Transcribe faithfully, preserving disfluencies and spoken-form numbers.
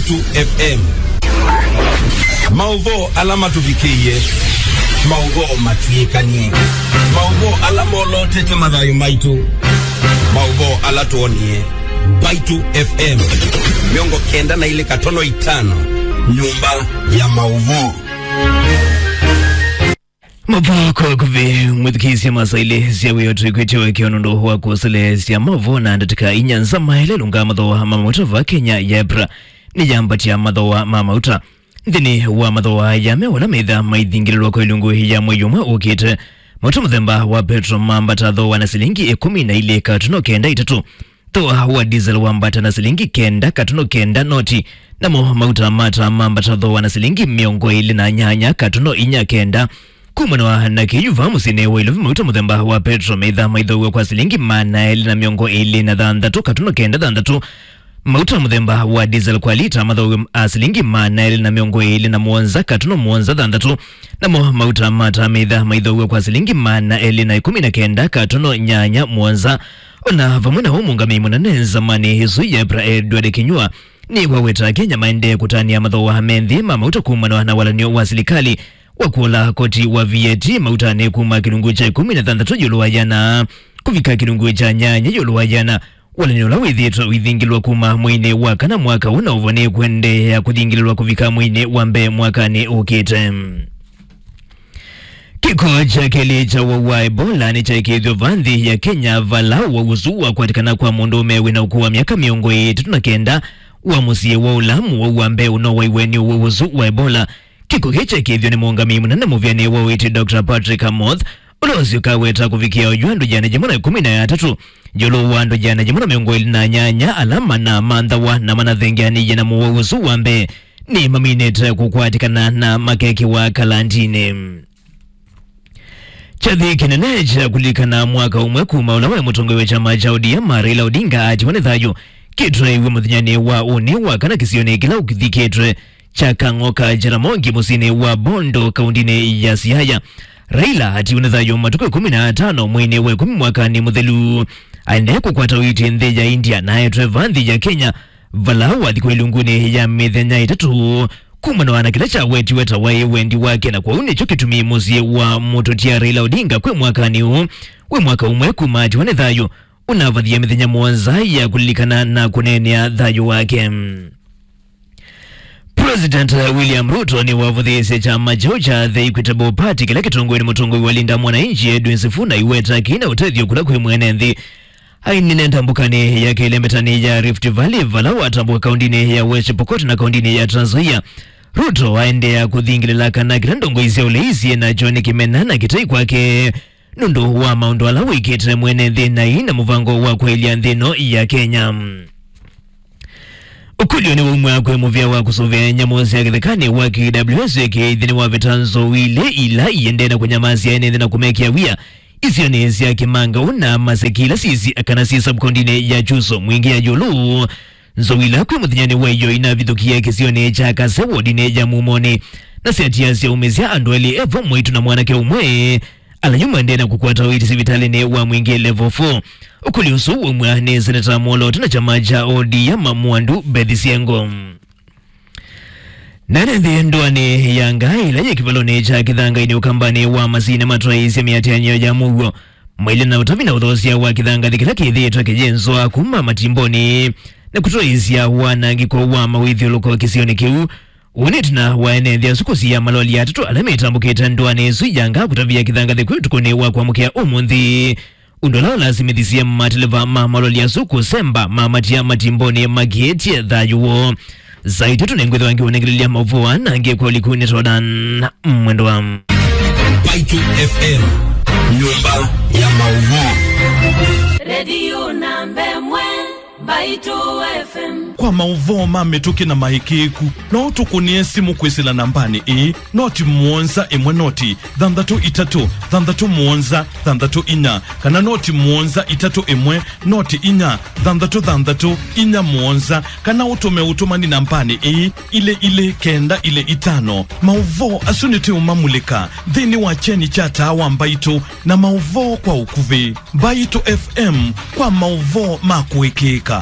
Mbaitu F M. Maũvoo ala matũvikĩie, maũvoo matw'ĩkanie, maũvoo ala molotete mathayũ maitũ, maũvoo ala twonie. Mbaitu F M mĩongo kenda na ilĩ katono itano, nyũmba ya maũvoo. Mavoo kwa kuvi, mwĩthukĩĩsye masaa ilĩ sya wĩoo twĩkwĩtye ũekeo nũndũ wa kũseleesya mavoo na ndatĩka inya nza. Maelelũnga mathooa ma mauta va Kenya. YEPRA nĩyambatya mathooa ma mauta. Nthĩnĩ wa mathooa aya me ala metha maithingĩlĩlwa kwa ilungu ya mwei ũmwe ũkĩte. Mauta mũthemba wa petro mambata thooa na silingi ĩkũmi na ilĩ katuno kenda itatũ. Thooa wa diesel wambata na silingi kenda katuno kenda noti, namo mauta ma taa mambata thooa na silingi mĩongo ĩlĩ na nyanya katuno inya kenda. Kumana na kĩu, vaa mũsyĩnĩ wa Ilovi, mauta mũthemba wa petro metha maithooaw'a kwa silingi maana elĩ na mĩongo ĩlĩ na thanthatũ katuno kenda thanthatũ. Mauta mũthemba wa diesel kwa lita mathooaw'a a silingi maana elĩ na mĩongo ĩlĩ na mũonza katuno mũonza thanthatũ. Namo mauta ma taa metha maithooaw'a kwa silingi maana elĩ na ĩkũmi na kenda katuno nyanya mũonza. O na vamwe na ũu, mũũngamĩi mũnene nzamanĩ ĩsu YEPRA Edward Kinyua nĩwaweta Akenya maendee kũtanĩa mathooa me nthĩ ma mauta kumana na walan'yo wa silikalĩ wa kũla koti wa V A T mautanĩ kuma kĩlungu kya ĩkũmi na thanthatũ ĩũlũ wa ĩana kũvika kĩlungu kya nyanya ĩũlũ wa ĩana. Walan'yo ũla wĩthĩĩtwe ũithingĩlwa kuma mweinĩ wa kana mwaka ũũ na ũvo nĩkũendeea kũthingĩlĩlwa kũvika mweinĩ wa mbee mwakanĩ ũkĩte. Kĩko kya kelĩ kya ũwau wa Ebola nĩkyaĩkĩĩthw'e va nthĩ ya Kenya, vala ũwau ũsu wakwatĩkana kwa mũndũũme wĩna ũkũũ wa myaka mĩongo ĩtatũ na kenda wa mũsyĩ wa Ulamu. Ũwau wa mbee ũnowaiwe nĩ ũwau ũsu wa Ebola. Kĩko kĩĩ kyaĩkĩĩthw'e nĩ mũũngamĩi mũnene mũvĩanĩ wa ũiiti, Doctor Patrick Amoth, ũla ũsyoka weta kũvikĩa oyu andũ ĩana yĩmwe na ĩkũmi na atatũ ĩũlũ wa andũ ĩana yĩmwe na mĩongo ĩlĩ na nyanya ala manamanthawa na manathengeanĩie na mũwau ũsu wa mbee nĩmaminĩte kũkwatĩkana na makekĩwa kalandinĩ. Kyathĩ kĩnene kya kũlilikana mwaka ũmwe kuma ũla waĩ mũtongoi wa kyama kya O D M, Raila Odinga, atiwa nĩ thayũ kĩtwaĩwe mũthenyanĩ wa ũnĩ wa kana kĩsionĩ kĩla ũkĩthikĩtwe kya Kang'o ka Jaramogi mũsyĩnĩ wa Bondo, kaundinĩ ya Siaya. Raila atiwa nĩ thayũ matukũ ĩkũmi na atano mweinĩ wa ĩkũmi mwakanĩ mũthelu. Aendee kũkwata ũiiti nthĩ ya India na aetwe va nthĩ ya Kenya, vala wathi kwa ilungunĩ ya mĩthenya ĩtatũ kumana na kĩla kyawetiwe ta waĩ wendi wake, na kwoou nĩkyo kĩtumi mũsyĩ wa mũtũtia Raila Odinga kwĩ mwakanĩ ũũ wĩ mwaka ũmwe kuma atiwa nĩ thayũ ũnavathie mĩthenya mũonza ya kũlilikana na kũneenea thayũ wake. President William Ruto nĩwavũthĩĩsye kyama kyaũ kya The Equitable Party kĩla kĩtongoew'e nĩ mũtongoi wa Linda Mwananchi Edwin Sifuna iweta kĩna ũtethyo kũla kwĩ mwene nthĩ. Ainene ndambũkanĩ ya kelembetani ya Rift Valley, vala watambũka kaundinĩ ya West Pokot na kaundinĩ ya Trans Nzoia, Ruto aendeea kũthingĩlĩla kana kĩla ndongoi sya ũlei syĩ nakyo nĩ kĩmena na kĩtai kwake nũndũ wa maũndũ ala wĩkĩte mwene nthĩ na ina mũvango wa kwaĩlya nthĩ ĩno ya Kenya. Ũkũlyo nĩwaumw'a kwĩ mũvĩa wa kũsũvĩa nyamũ sya kĩthekanĩ wa K W S A K ĩthĩnĩ wa veta nzou ilĩ ila iendee na kũnyamasya ene nthĩ na kũmekĩa wia isionĩ sya Kĩmangau na Maseki ila syĩsĩ kana syĩ sub-kaundinĩ ya Kyuso Mwingĩ ya Ĩũlũ. Nzou ila kwĩ mũthenyanĩ wa ĩyo inavithũkie kĩsionĩ kya Kase wodinĩ ya Mumonĩ na syatiasya umĩsya andũ elĩ, evo mwĩĩtu na mwanake ũmwe, ala yu maendee na kũkwata ũiiti sivitalĩnĩ wa Mwingĩ Level four. Ũkũlyo ũsu waumw'a nĩ Seneta Mwolooto na kyama kya O D M Mwandu Beth Siengo. Na ene nthĩ ndũanĩ ya Ngaa ĩla yĩ kĩvalonĩ kya Kĩthangainĩ ũkambanĩ wa Masii nĩmatwaĩĩsye mĩatĩanĩo ya mũuo mailye na ũtavi na ũthoosya wa kĩthangathĩ kĩla kĩthĩĩtwe kĩyĩnzwa kuma matimbonĩ na kũtwaĩĩsya wanangĩko wa mawĩthyũlũko kĩsionĩ kĩu. Ũũ nĩ ĩtina wa ene nthĩ asu kũsia maloli atatũ ala metambũkĩte ndũanĩ ĩsu ya Ngaa kũtavya kĩthangathĩ kwĩ ũtukũnĩ wa kwamũkĩa ũmũnthĩ, ũndũ ũla ũlasimĩthisye mateleva ma maloli asu kũsemba mamatia matimbonĩ makĩĩtye thayũ woo. Saa itatũ nĩngwĩthĩwa ngĩũnengelelya maũvoo aa na angĩ kwa ũliku nĩ Jordan Mwendwa. Mbaitu F M, nyũmba ya maũvoo. Redio namba ĩmwe, Mbaitu F M. Kwa maũvoo ma mĩtũkĩ na maĩkĩĩku, no ũtũkũnĩe simũ kwĩsĩla nambanĩ ĩĩ, noti mũonza ĩmwe noti thanthatũ itatũ thanthatũ mũonza thanthatũ inya, kana noti mũonza itatũ ĩmwe noti inya thanthatũ thanthatũ inya mũonza, kana ũtũme ũtũmani nambanĩ ĩĩ, ilĩ ilĩ kenda ilĩ itano. Maũvoo asu nĩtũũmamulĩka nthĩnĩ wa kyeni kya taa wa Mbaitũ na maũvoo kwa ũkuvĩ. Mbaitũ F M kwa maũvoo ma kũĩkĩĩka.